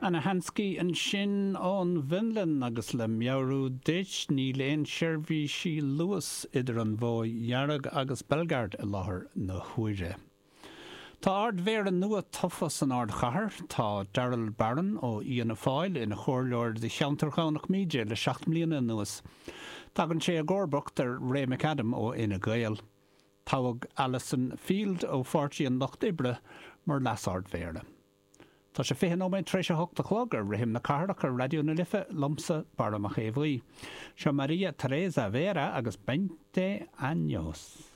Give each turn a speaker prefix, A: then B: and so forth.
A: Anna Hanski ansin ón bhFionlainn agus le meabhrú duit, níl aon seirbhísí Luas idir an Bhóidh Dhearg agus Belgard i láthair na huaire. Tá Ard-Mhéara nua tofa san ardchathair. Tá Daryl Barron ó Fhianna Fáil ina chomhairleoir do cheantar Dhomhnach Míde le 7 mbliana anuas. Tagann sé i gcomharbacht ar Ray McAdam ó Fhine Gael. Toghadh Alison Field ó Pháirtí an Lucht Oibre mar Leas-Ard-Mhéara. Tá sé 20 nóiméad tar éis a hocht a chlog ar Rithim na Cathrach ar Raidió na Life, liomsa, Barra Mac Aodha Bhuí. Seo Maria Teresa Vera agus Veinte Años.